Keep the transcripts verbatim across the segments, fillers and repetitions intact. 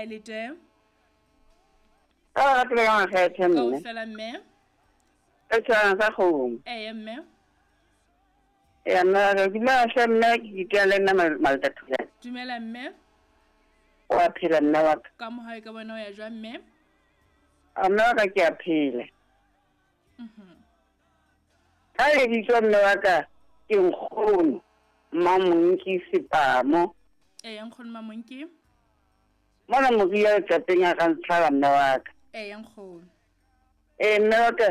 Ha le teng? Ka ba ratile ka makgethe mme. Kaofela mme. Ka tshwana sa kgomo. Eya mme. Eya mme, re dumela hle mme, ke itea le nna Maltathulane. Dumela mme. Wa phela mme wa ka. Ka mohau ka bona o ya jwang mme? A mme wa ka ke a phela. Mhm. Ka lebitso mme wa ka ke nkgono Mamonki Sepamo. Eya nkgono Mamonki. Mona moria letlapeng a ka ntshwara mme wa ka. Eya nkgono. Eh mme wa ka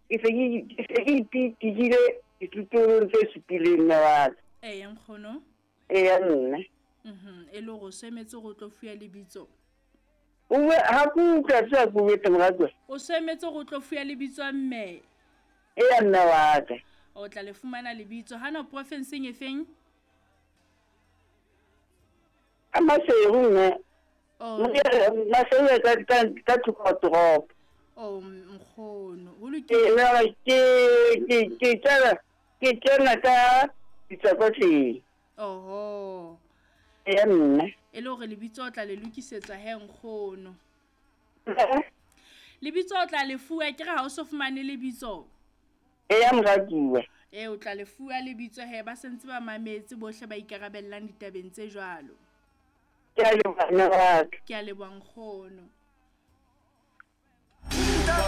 ke se ke ke se ke ipitikile dithutong tse supileng mme wa ka. Eya nkgono. Eya mme. Mhm, e le hore o emetse go tlo fuya lebitso. O bue ha ke utlwa tse ke bue moratuwa. O emetse go tlo fuya lebitso mme. Eya mme wa ka. O tla le fumana lebitso hana profinseng e feng? Ka Maseru mme. Oh. Maseru ka ka ka thoko toropo. Oh nkgono, ho Ke lokile. mme ke ke ke tsena ke tsena ka ditsakotleng. Oho. Eya mme. E le hore lebitso o tla le lokisetswa he nkgono. Lebitso o tla le fuwa ke re ha o so fumane lebitso. Eya moratuwa. E o tla le fuwa lebitso he ba sentse ba mametse bohle ba ikarabellang ditabeng tse jwalo. Ke a leboha mme wa ka. Ke a leboha nkgono.